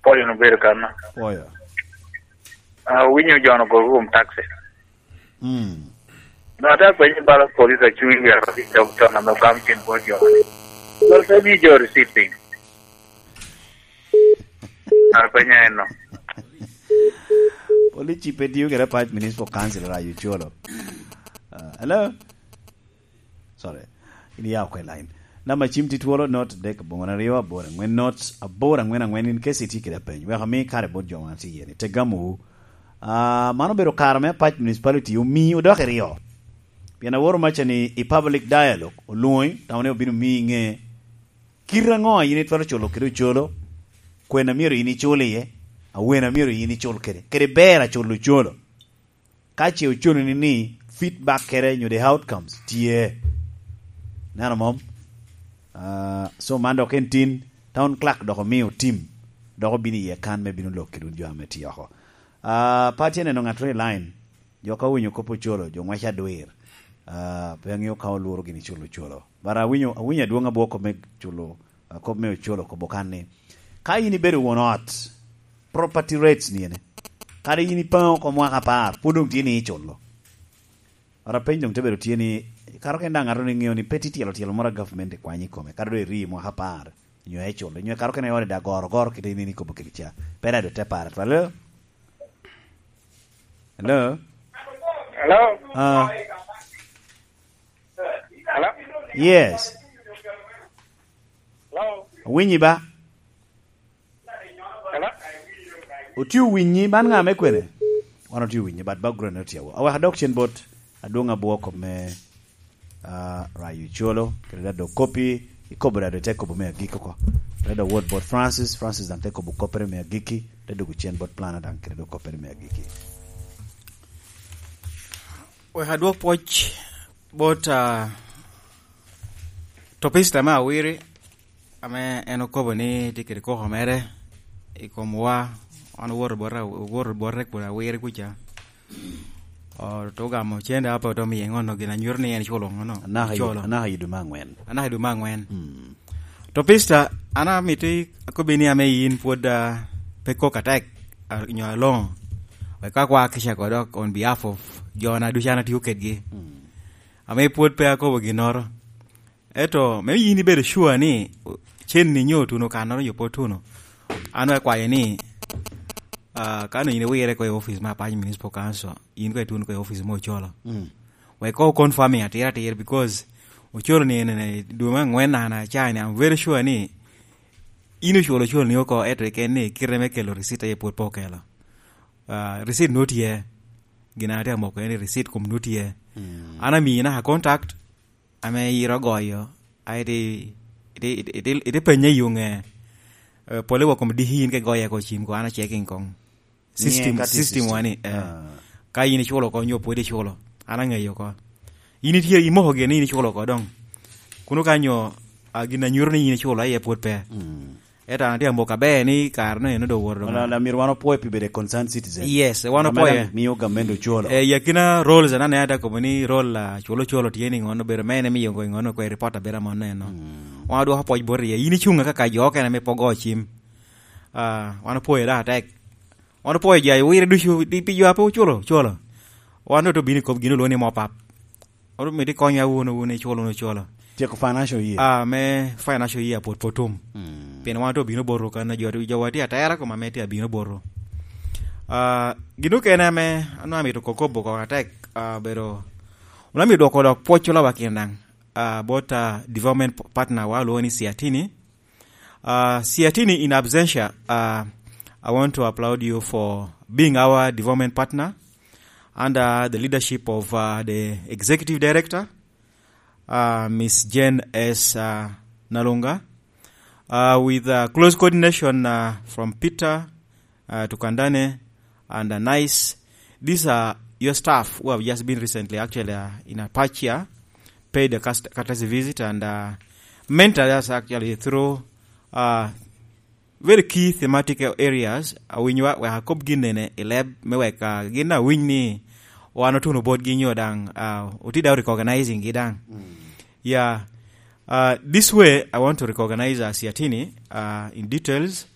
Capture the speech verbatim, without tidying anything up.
Pwoyo no bedo kan. Pwoyo. Ah, winyo jo no gogo kum taxi. Mm. No, ata kwenye bala police acung i wero i dog ton ame gam cen bot jo. Dol pe mi jo receipt piny. Ah, kwenye en no. Police chief pe tiyo kede Apac Municipal Council, Rayo Cholo. Ah, hello? Sorry. In iya oko i line. Namba cim tye twolo, not adek aboŋo aryo aboro aŋwen, not aboro aŋwen aŋwen, in kesi itye kede apeny. Wek ami kare bot jo ma tye iye ni. Tegamu. Ah, man obedo kare me Apac Municipality omi odok i ryo. Pien aworo maca ni i public dialogue, olwoŋi, tamo ni obino miyi ŋe kit aŋo a in itwero culo kede ocolo, kwena myero in icul iye, awena myero in icul kede, kede ber a culo ocolo. Ka ce oconi ni, ni feedback kede nyo the outcomes tye. Neno mom? Ah, so man dok en tin, town clerk dok omio tim, dok obino iye kan me bino lok kede wun jo ame tye oko. Ah, pa tye neno ŋat ri line, jo ka winyo kop ocolo, jo ŋwec adwir. Ah, pe aŋeo ka olworo gini culo ocolo. But awinyo, awinyo adwoŋ abwoko me culo, ah, kop me ocolo kobo kan ni, ka in ibedo won ot, property rates ni ene. Kadi in ipaŋo oko mwaka apar, pwod doŋ tye ni iculo. Ora peny doŋ te bedo tye ni, karo ken daŋ ŋato ni ŋeo ni pe tye tyelo tyelo moro a government ikwanyo i kome, kadi doŋ iri mwaka apar, nyo iculo, nyo karo ken i ode daŋ goro goro kite in ikobo kede ca. Pe daŋ doŋ te pare twal. Hello? Hello? Hello? Ah. Hello? Yes. Hello? Winyi ba? Hello? Otye owinyi, man ŋa me kwene? Wan otye owinyi, but background ne otye awa. Awek adok cen bot adwoŋ abwoko me, ah, Rayo Colo, kede dado kopi, ikobo dado te kobo me agik oko. Dado wot bot Francis, Francis daŋ te kobo koppere me agiki, te dogo cen bot plana daŋ kede dado koppere me agiki. Wek adwok pwoc bot, ah, topista me awiri, ame en okobo ni tye kede koko mere i komwa, wan owoto bot, owoto bote kun awiri kuca. O, to ogamo cen daŋ pe oto miye ŋono gin anyuto ni en culo ŋono. Anaka i, culo. Anaka i dwe me angwen. Anaka i dwe me angwen. Mm. Topista, an amito akobbi ni ame in pwod, ah, pe kok atek, ah, nyo aloŋo. Wek ka kwa kica ko dok on behalf of jo na ducu an atio kedgi. Mm. Ame pwod pe akobo ginnoro. Ento, me yin ibedo sure ni cen-ni nyo otuno kannoro nyo pe otuno, an akwayo ni, ah, ka nonyo in iwire ko i office me Apac Municipal Council, in ko ituno ko i office me Ocolo. Mm. Wek ko confirming atira atira, because Ocolo ni en, en, dwe me angwen an acaa ni, I'm very sure ni in oculo Ocolo ni oko, eto iken ni kite me kelo receipt aye pwod pe okelo. Ah, receipt nut tye. Gin an atye amoko en ni receipt kom nut tye. Mm. An amiyi naka contact, ame yiro ogoyo, a iti, iti, iti, iti, iti penye i yuŋe, eh, pole wa kom diki in ke goye ko cim ko, an a checking kong. System, ka tye system system. Wani, eh, ah, ka in iculo ko nyo pwod iculo, an aŋeyo ko. In itye imoko gin ni in iculo ko doŋ. Kuno ka nyo, ah, gin a nyuto ni in iculo aye pwod pe. Mm. Ento an atye amoko aber ni kare no eno doŋ owoto doŋ. Wala, wala myero wan opwoyo pi bedo a concerned citizen. Yes, wan opwoyo. Ame daŋ miyo gamente ocolo. Eh, i akina roles anane ata kobo ni role, ah, culo culo tye ni ŋono obedo mene miyo ŋono kwe report abedo amono eno. Mm. Wan odwoko pwoc bot iye. In icuŋ kaka jo okene ame pe ogo cim. Ah, wan opwoyo daŋ atek. Wan opwoyo jo a wire ducu, di pi jo a pe oculo, culo. Wan doŋ obino i kop gin olwoŋo ni mop up. Wan omito ikonyo wun, wun iculo, wun oculo. Tyeko financial year. Ah, me financial year pwod pe otum. Mm. Pien wan doŋ obino boto kan a jo, jo wa tye atera koma me tye abino boto. Ah, gin okene ame, ame amito kokobo koko atek, ah, bedo, wan amito dwoko dok pwoc oloba kin daŋ, ah, bot, ah, development partner wa, olwoŋo ni Siatini. Uh, Siatini in absentia, uh, I want to applaud you for being our development partner under the leadership of, uh, the executive director, uh, Miss Jane S, uh, Nalunga, uh, with, uh, close coordination, uh, from Peter, uh, to Kandane and, uh, Nice. These are your staff who have just been recently actually, uh, in Apac here, paid a cust-, courtesy visit and, uh, mentored us actually through, uh, very key thematic areas. Awinyo wa, wek akob gin nene i leb me wek, uh, gin awiny ni wan otuno botgi nyo daŋ, uh, oti daŋ recognizing gi daŋ. Mm. Yeah. Uh, this way, I want to recognize, uh, Siatini, uh, in details.